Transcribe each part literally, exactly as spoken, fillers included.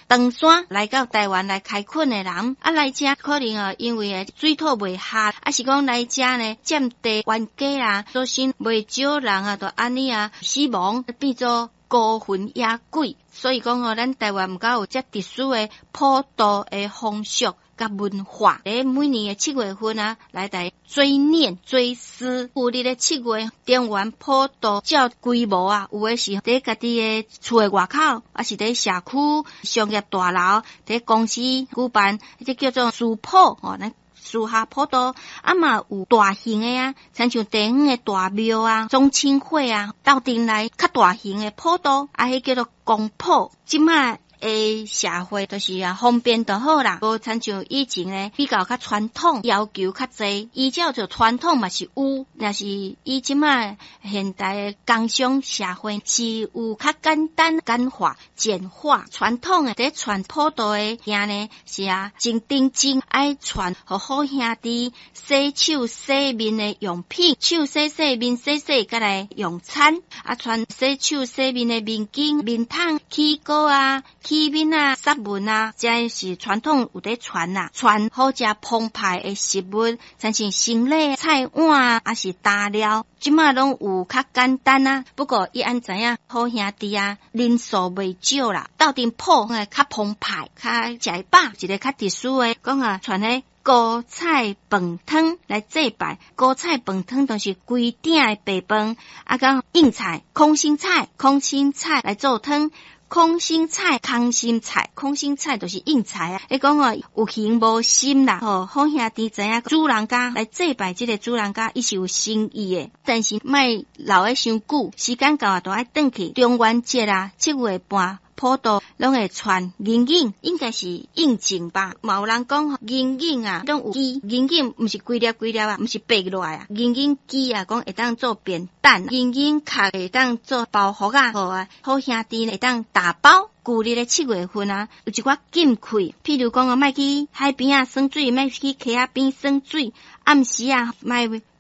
唐山來到台灣來開墾的人，啊來遮可能哦，因為水土袂合，抑是講來遮呢佔地冤家啊，所以袂少人啊，就按呢啊死亡變做孤魂野鬼。所以講哦，咱台灣毋敢有遮特殊的普渡的風俗佮文化。佇每年的七月份啊，來來追念追思。舊曆的七月，中元普渡照規模啊，有的是佇家己的厝的外口，抑是佇社區商業大樓，佇公司舉辦，這叫做私普吼，咱私下普渡。啊嘛有大型的啊，親像地方的大廟啊、宗親會啊，鬥陣來較大型的普渡，啊，彼叫做公普。這馬的社會就是啊方便就好啦，無親像以前呢比較較傳統，要求較濟。依照著傳統嘛是有，若是以這馬現代的工商社會是有較簡單、簡化、簡化傳統的。佇傳普渡的件呢是啊真認真愛傳，予好兄弟洗手洗面的用品，手洗洗面洗洗，閣來用餐。啊，傳洗手洗面的面巾、面桶、起膏啊。起面啊、殺文啊，這是傳統有佇傳啦，傳好食澎湃的食物，親像生理菜碗啊，抑是大料，這馬攏有較簡單啊。不過伊按知影好兄弟啊，人數袂少啦，鬥陣普的較澎湃，較食會飽，一个較特殊的，講啊傳彼高菜飯湯來祭拜。高菜飯湯就是規鼎的白飯，啊，佮硬菜、空心菜、空心菜來做湯。空心菜、空心菜、空心菜就是硬菜啊！伊講哦，有形無心啦，吼，好兄弟知影主人家來祭拜這个主人家，伊是有心意的，但是莫留得傷久，時間到啊，就愛轉去。中元節啊，七月半普渡攏會傳銀銀，應該是應景吧？嘛有人講銀銀啊，攏有枝，銀銀毋是規粒規粒啊，毋是白落來啊，銀銀枝啊，講會當做扁擔，銀銀殼會當做包袱啊，好啊，好兄弟會當打包。舊曆的七月份啊，有一寡禁忌，譬如講哦，莫去海邊仔耍水，莫去溪仔邊耍水，暗時啊，莫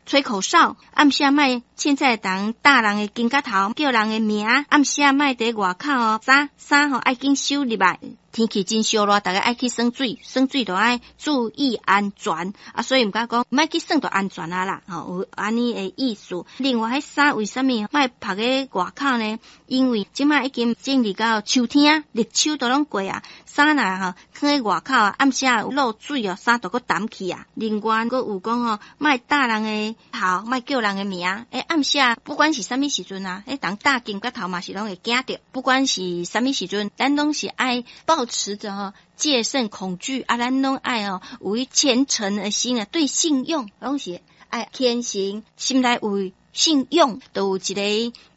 吹口哨，暗時啊，莫凊彩動打人的肩胛頭，叫人的名，暗時啊，莫佇外口哦，衫衫吼愛緊收入來。天氣真燒熱，逐家愛去耍水，耍水就愛注意安全啊，所以毋敢講莫去耍就安全啊啦，吼，有按呢的意思。另外，彼衫為啥物莫曝佇外口呢？因為這馬已經進入到秋天，立秋都攏過啊，衫若吼囥佇外口啊，暗時啊有落水哦，衫就閣澹去啊。另外，閣有講吼，莫打人的頭，莫叫人的名。欸，暗時啊，不管是啥物時陣啊，彼人打肩胛頭嘛是攏會驚著。不管是啥物時陣，咱攏是愛保持著吼戒慎恐懼啊，咱攏愛哦有伊虔誠的心啊，對信仰攏是愛虔誠，心內有信仰，就有一个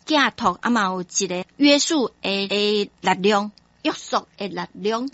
寄託，啊嘛有一个約束的的力量，約束的力量。